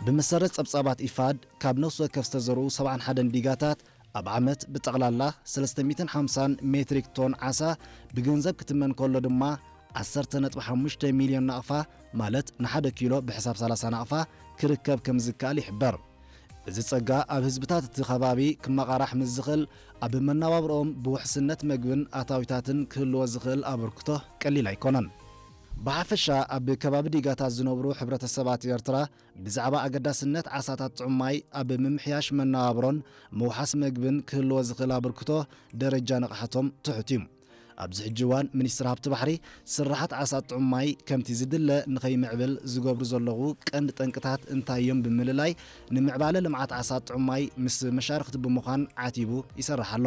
ብመሰረት ጸብጻባት ኢፋድ፣ ካብ ነፍሲ ወከፍ ዝተዘርኡ ሰብዓን ሓደን ዲጋታት ኣብ ዓመት ብጠቕላላ ሰለስተ ሚእትን ሓምሳን ሜትሪክ ቶን ዓሳ ብገንዘብ ክትመን ከሎ ድማ፣ ዓሰርተ ነጥቢ ሓሙሽተ ሚልዮን ናቕፋ፣ ማለት ንሓደ ኪሎ ብሕሳብ ሰላሳ ናቕፋ ክርከብ ከም ዝከኣል ይሕበር። እዚ ጸጋ ኣብ ህዝብታት እቲ ከባቢ ክመቓራሕ ምስ ዝኽእል፣ ኣብ መነባብሮኦም ብውሕስነት መግብን ኣታዊታትን ክህልዎ ዝኽእል ኣበርክቶ ቀሊል ኣይኮነን። ብሓፈሻ ኣብ ከባቢ ዲጋታት ዝነብሩ ሕብረተሰባት ኤርትራ ብዛዕባ ኣገዳስነት ዓሳታት ጥዑም ማይ ኣብ ምምሕያሽ መነባብሮን ምውሓስ መግብን ክህልዎ ዝኽእል ኣበርክቶ ደረጃ ንቕሓቶም ትሑት እዩ። ኣብዚ ሕጂ እዋን ሚኒስትሪ ሃብቲ ባሕሪ ስራሓት ዓሳ ጥዑም ማይ ከምቲ ዝድለ ንኸይምዕብል ዝገብሩ ዘለዉ ቀንዲ ጠንቅታት እንታይ እዮም ብምልላይ ንምዕባለ ልምዓት ዓሳ ጥዑም ማይ ምስ መሻርኽቲ ብምዃን ዓቲቡ ይሰርሕ ኣሎ።